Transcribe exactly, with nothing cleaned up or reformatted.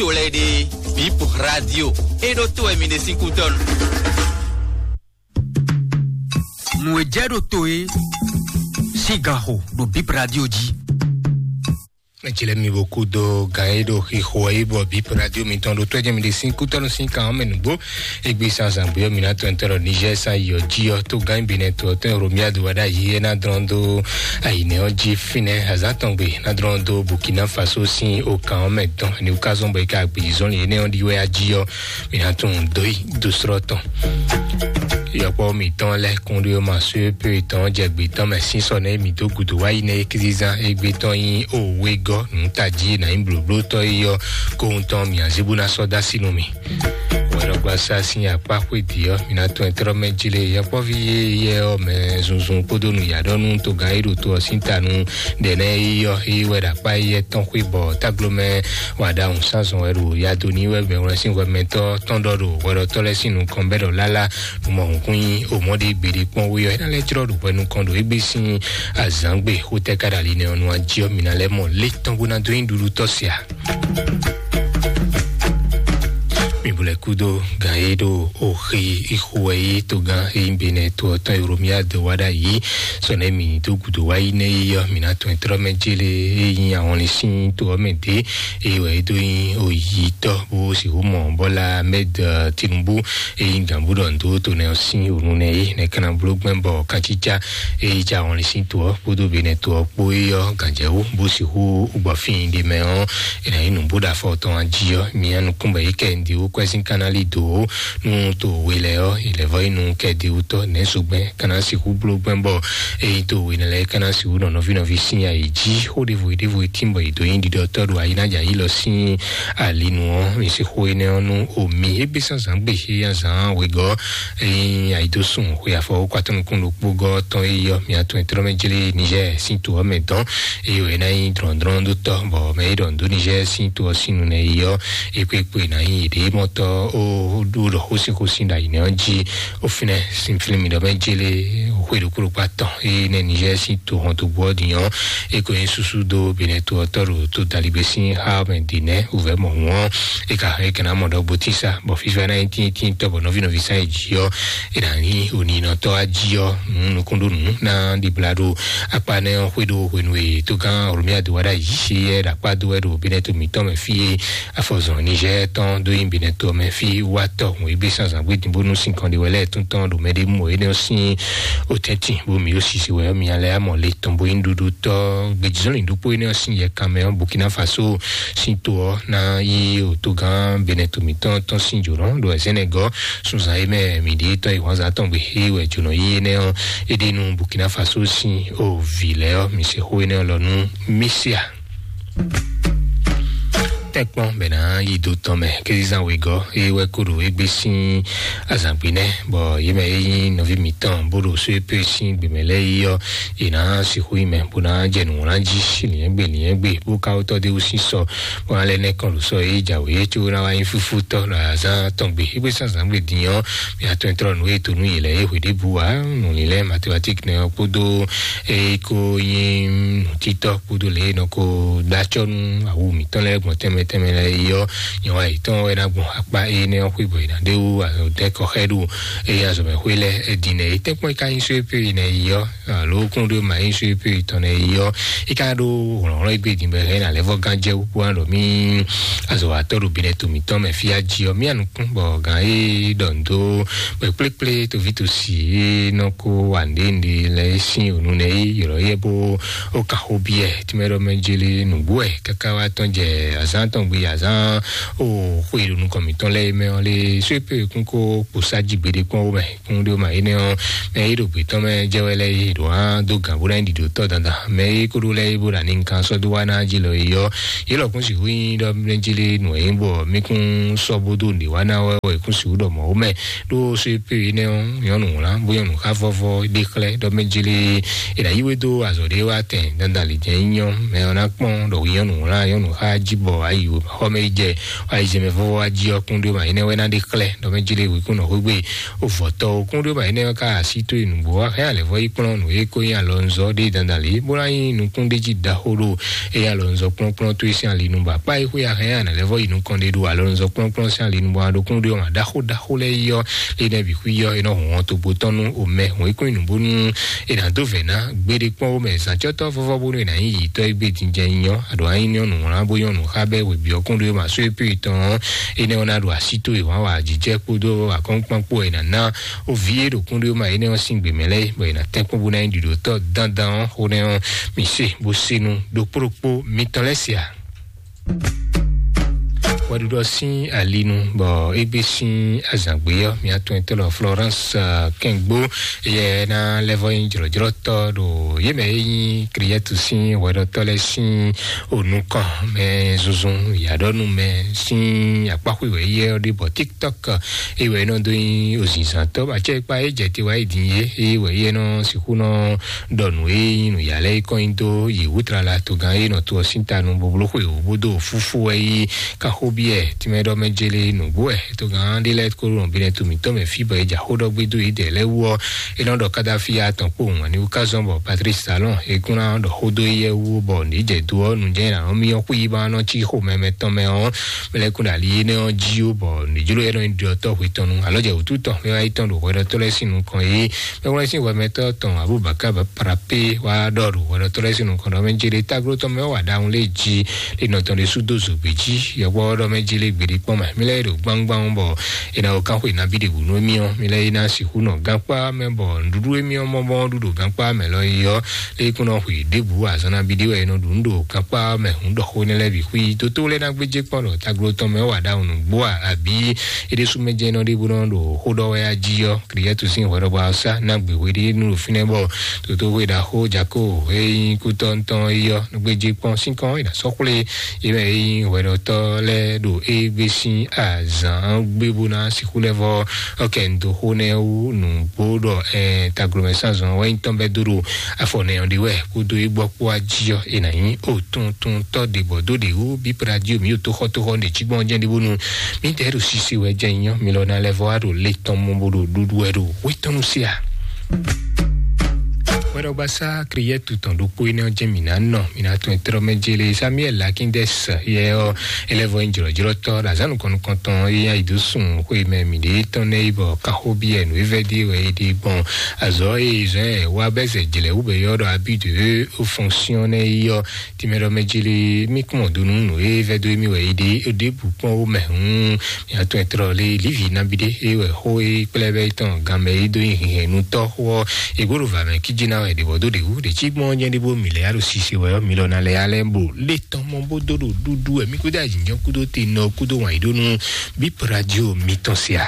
to lɛ́ɛ ɖe, Bip Radio, é ɖó to wɛ mi ɖe sín kútɔ́nu. Nǔ e jɛ ɖo to é sín ganxo ɖo Bip Radio jí. Ecile mi bo kú dó gan e ɖo xixo e bɔ Bip Radio mitɔn ɖo tó jɛ mi ɖe sín kútɔ́nu sín kan ɔ́ mɛ nǔgbó. Egbe sanzan gbé ɔ́, mi ná tɔn tɔn ɖɔ Niger sa yɔ jí ɔ́, tó gan bi nɛ to ɔ́ tɔn Romia do wá ɖ'ayǐ é ná dlɔ́n dó ayǐnɛ ɔ́ jí fínɛ́ azǎn tɔn gbe ná dlɔ́n dó Burkina Faso sín o kan ɔ́ mɛ dɔn. Ni wúkazɔn bɔ é ka gbězɔnlin énɛ́ ɔ́ ɖi wɛ ají ɔ́, mi ná tunwun dó yi dó srɔ́ tɔn. Yɔkpɔ́ mǐtɔn lɛ́ɛ kún ɖó ma sú pé tɔn jɛ gbě tɔn mɛ sín sɔ nɛ́ mǐ dó gǔdo wá yi nɛ́ é kízízán égbé tɔn nyí òwegɔ́ nǔtají nǎ nyí blǒblótɔ́ é yɔ kóhun tɔn mǐ azíbú ná sɔ́ dó así nú mì. Wɛɖɔgbasá sín akpá xwédi ɔ́, mi ná tɔn ɛ tlɔ́ mɛ jí lé yɔkpɔ́ví yé yɛ ɔ́ mɛ zunzun kpódó nǔyǎɖɔ́nú togán é ɖo to ɔ́ sín ta nú ɖɛ̌nɛ́ é yɔ é wɛ ɖo akpá éyɛ́ tɔn xwé bɔ táglomɛ wa ɖawun sázɔn wɛ ɖo yado ní wɛ mɛ wlɛ́ sín hwɛmɛtɔ́ tɔn ɖɔ ɖo hwɛɖɔtɔ́ lɛ́ɛ sín nukɔn bɛ́ ɖɔ lálá nǔmɔhunhun kún nyi omɔɖé gbeɖé kpɔ́n wé ɔ́, é ná lɛ́ jlɔ́ ɖo hwɛ nukɔn ɖo égbé sín azǎngbe xótɛ́ ká ɖo ali nɛ ɔ́ nu ají ɔ́, mi ná lɛ́ mɔ lé tɔn bó ná dó nyi ɖuɖu tɔ́ se a? Mi bu lɛ kúdó gan e ɖo oxi ixo wɛ yi togán e nyí Benɛ to ɔ́ tɔn Euromia do wá ɖ'ayǐ. Sɔ nɛ mi dó gǔdo wá yi nɛ yi ɔ́, mi ná tɔn trɔ́ mɛ jélé e nyí ahɔnlin sín to ɔ́ mɛ dé, eye wɛ é dó nyí oyitɔ́ bó sixú mɔ Bɔla Ahmed Tinubu e nyí gǎnbú ɖɔ ndo to nɛ ɔ́ sín onu nɛ é nɛ kana bló gbɛn bɔ kacica e yi ja ahɔnlin sín to ɔ́ kpódó Benɛ to ɔ́ kpó é ɔ́ gǎnjɛwú bó sixú gbɔ fín ɖé mɛ ɔ́, è nǎ nyí nǔbúɖafɔ tɔn jí ɔ́, mi nukún bɔ é kɛ ndi wú kwɛ́ sín kanali dó nú to we lɛ́ɛ ɔ́, è lɛ̌ vɔ yi nú kɛ di wú tɔ́ nɛ̌ zogbɛ́n ka ná sixú bló gbɛn bɔ é nyí to we lɛ́ɛ ka ná sixú nɔ nɔví nɔví sín ayǐ jí xó ɖěvo ɖěvo e tín bɔ è dǒ nyi ɖiɖɔtɔ́ ɖo ayínájà yí lɔ sín ali nu ɔ́, mi se xó énɛ́ ɔ́ nú omi égbé sán zǎn gbe xé azǎn wegɔ́. Ényí ayidosùn xwe afɔ wókpatɔ́ nukún ɖokpó gɔ́ tɔn e yɔ mi atɔn e tlɔ́ mɛ jlé Niger sín to ɔ́ mɛ dɔn, eye wɛ ná nyí drɔ̌ndrɔ́n dó tɔ́ bɔ mɛ e ɖɔ dó Niger sín to ɔ́ sín nu nɛ yi ɔ́, é kpé kpé ná nyí yěɖée mɔtɔ́ ó ɖó ɖɔ xósíxósí ɖo ayǐnɛ ɔ́ jí. Ó fínɛ́ sín flín mi ɖɔ mɛ jlé xwe ɖokpó ɖokpó atɔn e nɛ Niger sín to hɔn to gbɔ din ɔ́, é ko nyí súsú dó Benɛ to ɔ́ tɔ́ ɖo to daligbé sín xá mɛ din nɛ́ wǔvɛ́ mɔ hǔn ɔ́, é ka é ka ná mɔ ɖɔ gbótísá bɔ fífá ná nyí tíntínntɔ́ bɔ nɔví nɔví sán e jí ɔ́, é ná nyí oninɔtɔ́ ají ɔ́, nǔ nukúnɖónú ná ɖibla ɖo akpa nɛ́ ɔ́ xwé ɖo hwenu e tógán Oromiya do wá ɖo ayǐ é ɖo akpá dó wɛ ɖo Benɛ to mǐtɔn mɛ fí e afɔzɔn Niger tɔn dó nyi Benɛ to mɛ fí wá tɔ hǔn égbé sán zǎngbé din bónú sín kɔn ɖe wɛ lɛ́ɛ tún tɔn ɖo mɛ ɖé mɔ énɛ́ ɔ́ sín otɛ́ntin bó mǐ ó sisi wɛ ɔ́, mi alɛ amɔ le tɔn bó nyí ɖuɖu tɔ́ gbejizɔ́lin ɖokpó énɛ́ ɔ́ sín yɛ kanmɛ ɔ́, Burkina Faso sín to ɔ́ ná yí otogán Benɛ to mǐtɔn tɔn sín jǒnɔ ɖo Senegal sunzan e mɛ mǐ ɖíe tɔn yi hwanzán tɔn gbe é wɛ jǒnɔ yí énɛ́ ɔ́, é ɖe nú Burkina Faso sín o vǐ lɛ́ɛ ɔ́, mi se xó énɛ́ ɔ́ lɔ nú Mísia. Tɛ́nkpɔ́n bɛ ná yi do tɔn mɛ kézizan wegɔ́ é wɛ kó ɖo égbé sín azǎngbé nɛ́, bɔ yě mɛ é nyí nɔví mǐtɔn bó ɖo só é pé sín gběmɛ lɛ́ɛ yi ɔ́, yě ná sixú yi mɛ bó ná jɛ nǔwlán jí liɛ́ngbé liɛ́ngbé bó ka wótɔ́ dé wú sín sɔ bó ná lɛ́ nɛ́ kɔn ɖo sɔ é jǎwe é có ná wá nyí fúfútɔ́ ɖo azán tɔn gbe. Égbé sín azǎngbé din ɔ́, mǐ atɔn e tlɔ́ nǔ e to nú yě lɛ́ɛ é hwe ɖěbǔ ǎ, nǔlílɛ́ mathématique nɛ ɔ́ kpódó é kó nyí nǔtítɔ́ kpódó lě e nɔ ko ɖó acɔ́ nú awu mǐtɔn lɛ́ɛ gbɔn tɛnmɛ tɛnmɛ lɛ́ɛ é ɔ́, nyɔ̌ ayǐtɔn wɛ ná gbɔn akpá énɛ́ ɔ́ xwé bɔ è nǎ ɖé wú dɛ́ kɔ xɛ ɖo eye azɔ̌mɛxwé lɛ́ɛ din nɛ é tɛ́nkpɔ́n é ka nyí só é pé nɛ é ɔ́, alo kún ɖó ma nyí só é pé tɔn nɛ é ɔ́, é ka ɖó hlɔ̌nhlɔ́n égbé din bɔ é hɛn ná lɛ́ vɔ gán jɛ wú kpó ná ɖɔ mí azɔ̌watɔ́ ɖo Benɛ to mǐtɔn mɛ fí ají ɔ́, mí anukún bɔ gǎn é ɖɔ nǔ dó kpɛkplékplé toví tosi e nɔ ko wa nǔɖé nǔɖé lɛ́ɛ sín ònu nɛ é ylɔ́ yɛ bó ó kan xó byɔ́ ɛ, tínmɛ ɖɔ mɛ jélé nǔgbó wɛ káká wá tɔn jɛ azán tɔn gbe azán ó xó e ɖo nukɔn mǐtɔn lɛ́ɛ mɛ ɔ́ lé só é pé kún kó kpo sá jí gbeɖé kpɔ́n ó mɛ kún ɖó ma énɛ́ ɔ́, mɛ é ɖo gbětɔn mɛ jɛ wɛ lɛ́ɛ é ɖo hán dó gǎn bó ná nyí ɖiɖotɔ́ dandan mɛ é kó ɖó lɛ́ɛ é bó ɖo ani nkan sɔ́ dó wá ná jí lɔ é ɔ́, yě lɔ kún sixú nyí ɖɔ mɛ jélé nǔ e nyí bɔ mí kún sɔ́ bó dó nǔɖé wá ná wɛ wɛ kún sixú ɖɔ mɔ̌ ó mɛ. Ɖó só é pé énɛ́ ɔ́, nyɔ̌nu wlán bó nyɔ́nu xá vɔ́vɔ́ ɖé xlɛ́ ɖɔ mɛ jélé è nǎ yí we dó azɔ̌ ɖé wá tɛn dandan lǐjɛ́n nyí nyɔ́ mɛ ɔ́ ná kpɔ́n ɖɔ hwi nyɔ́nu wlán nyɔ́nu xá jí bɔ ayí Xɔmɛ yi jɛ ayizɛmɛ vɔvɔ wá jí ɔkún ɖé ma énɛ́ wɛ ná ɖe xlɛ́ ɖɔ mɛ jí lé wíkún nɔ xwégbé ovɔtɔ okún ɖé ma énɛ́ wɛ ká así tó nǔgbó wá hɛn alɛ vɔ yi kplɔ́n nǔ e ko nyí alɔnzɔ ɖé dandan lě bó ná nyí nukún ɖé jí ɖaxó ɖo e nyí alɔnzɔ kplɔ́nkplɔ́n tó e sín ali nu bɔ akpá yi xwé ahɛn anɛ lɛ vɔ yi nukɔn ɖé ɖo alɔnzɔ kplɔ́nkplɔ́n sín ali nu bɔ aɖokún ɖé ɔmɔ ɖaxó ɖaxó lɛ yɔ énɛ́ bǐ xwí yɔ é nɔ hɔn togbo tɔn nú omɛ hɔn yi kún nǔ bónú è nǎ dó vɛ̌ ná gbeɖé kpɔ́n wó mɛ zǎncɔ́tɔ́ vɔ́vɔ́ bónú è nǎ nyí yǐtɔ́ e gbé dinjɛ nyɔ aɖǒ anyí nyɔ́nu wlán bó nyɔ́nu xá bɛ́ wěbí ɔ́ kún ɖó ma só é pé tɔn ɔ́ énɛ́ ɔ́ ná ɖo así tó è wǎn wa jǐjɛ kpódó akɔ́nkpán kpó è nǎ ná ó vǐ é ɖo kún ɖó ma énɛ́ ɔ́ sín gbě mɛ lɛ́ɛ bɔ è nǎ tɛ́n kpɔ́n bó ná nyí ɖiɖǒtɔ́ dandan ɔ́ xó nɛ́ ɔ́ mi se bó se nu ɖokpó ɖokpó mitɔn lɛ́ɛ sia. Hwɛɖuɖɔ sín alinu bɔ égbé sín azǎngbé ɔ́ mia tɔn etɔ́ lɔ Florence Kɛngbó yɛ ná lɛ́vɔ nyí jlɔ̌jlɔ́tɔ́ ɖo yě mɛ é nyí Kriyɛtu sín hwɛɖɔtɔ́ lɛ́ɛ sín onukɔn mɛ zunzun yǎɖɔnu mɛ sín akpáxwé wɛ yɛ ɔ́ ɖe bɔ TikTok é wɛ é nɔ dó nyí ozinzantɔ́ acɛkpa é jɛ te wá yi din é é wɛ yɛ nɔ sixú nɔ ɖɔ nǔ e nyí nǔyá lɛ́ɛ yi kɔn nyi dó yi wǔtrala togán e nɔ to ɔ́ sín ta nu boblo xwe wò bó dó fúfú wɛ yi kanxóbyɛ tínmɛ ɖɔ mɛ jele nǔgbó wɛ togán ɖé lɛ́ɛ kó nɔ binɛ to mǐtɔn mɛ fí bɔ é ja xó ɖɔ gbé dó yi dɛ lɛ́ɛ wú ɔ́ é nɔ ɖɔ Kadafi atɔn kpó wǎn ní wú ká zɔn bɔ Patrice Talon é kún ná ɖɔ xó dó éyɛ́ wú bɔ nǐ jɛ do ɔ́ nu jɛ́n ná nɔ myɔ xwí yi ba nɔ cí xo mɛ mɛ tɔn mɛ ɔ́ mɛ lɛ́ɛ kún ɖo ali énɛ́ ɔ́ jí ó bɔ nǐ jló é nɔ nyi ɖiɖɔtɔ́ hwe tɔn nu alɔ jɛ wǔtu tɔn mɛ wá yi tɔn ɖo hwɛɖɔtɔ́ lɛ́ɛ sín nukɔn é Mɛwlɛ́sín hwɛmɛtɔ́ tɔn Abubakar Parape wá ɖɔ ɖo hwɛɖɔtɔ́ lɛ́ɛ sín nukɔn ɖɔ mɛ jele táglo tɔn mɛ wá ɖahun lé jí lé nɔ tɔn ɖé sú dó zǒgbé jí yɔkpɔ́ ɖɔ mɛ jele gběɖé kpɔ́n mɛ mí lɛ́ɛ ɖo gbángban bɔ è nǎ wɔ kánxwe nabí ɖě bǔ nú émí ɔ́ mí lɛ́ɛ yi ná sixú nɔ gankpá mɛ bɔ nǔɖuɖu émí ɔ́ mɔ bɔ ɖu ɖo gankpá mɛ lɔ yi ɔ́ lé kún nɔ xwe ɖěbǔ azɔn nabí ɖé wɛ è nɔ ɖu nú ɖo gankpá mɛ hǔn ɖɔ xó énɛ́ lɛ́ɛ bǐ xwí dótó lɛ́ɛ ná gbéjé kpɔ́n ɖɔ táglo tɔn mɛ wá ɖahun nǔgbó a abǐ é ɖésú mɛ jɛ́n nɔ ɖé bó nɔ ɖo xó ɖɔ wɛ á jí ɔ́ Kriyɛtu sín hwɛɖɔgbá ɔ́ sá ná gbe hweɖé nú ɖo fínɛ́ bɔ toto hwe ɖaxó jako e nyí kútɔ́ntɔn é ɔ́ gbéjé kpɔ́n sínkɔn é ná sɔ́ xwlé é mɛ é nyí hwɛɖɔtɔ́ lɛ́ɛ ɖo é gbé sín azǎn gbé bó ná sixú lɛ́ vɔ ɔ́ kɛ un dó xó nɛ́ wú nǔgbó ɖɔ ɛn taglomɛ sánzɔn wɛ nyí tɔn bɛ́ dó ɖo afɔ nɛ ɔ́ ɖe wɛ kúdó é gbɔ kpó ají ɔ́ é ná nyí òtuntun tɔ́ ɖě bɔ dó ɖě wú bí pradio mǐ ɖo tóxɔ́tóxɔ́ ɖě cí gbɔn jɛ́n ɖé bónú mǐdɛɛ ɖo sise wɛ jɛ nyɔ mi lɔ ná lɛ́ vɔ wá ɖo le tɔn mɔ bó ɖo ɖuɖu wɛ ɖo wétɔ́nu sí a. Wɛɖɔgbasá Kriyɛtu tɔn ɖokpó énɛ́ ɔ́ jɛ́n mǐ ná nɔ mǐ ná tɔn e tlɔ́ mɛ jélé Samuel Lakindɛs yɛ ɔ́ é lɛ́ vɔ nyí jlɔ̌jlɔ́tɔ́ ɖo azǎn nukɔn nukɔntɔn é nyí ayi dó sun xwe mɛ mǐɖée tɔn nɛ́ yi bɔ kaxóbyɛ nǔ é vɛ́ dó wɛ é ɖe gbɔn azɔ̌ e zɔ́n ɛ wá bɛ́ zɛ jlɛ̌ wú bɛ yɔ́ ɖɔ abí de fonction nɛ́ yi ɔ́ Tìmɛ ɖɔ mɛ jili mí kún mɔ do nú nǔ e vɛ́ dó émí wɛ é ɖe é ɖěbǔ kpɔ́n ó mɛ hǔn mì atɔn e tlɔ lé lívi nabí ɖé é wɛ xó é kplɛ́ bɛ́ tɔn gan mɛ é dó nyi hǐnhɛ́nnutɔ́ xó ɔ́ è gǒ ɖo vǎ mɛ kíjí ná wɛ ɖě bɔ dó ɖě wú ɖě cí gbɔn jɛ́n ɖé bó mì lɛ́ á ɖo sise wɛ ɔ́ mi lɔ ná lɛ́ á lɛ́ bo lé tɔn mɔ bó dó ɖo ɖúɖú wɛ mí kúdó ayǐjínjɔ́n kúdó te nɔ kúdó wǎn yí ɖó nú bí pradio mitɔn se a.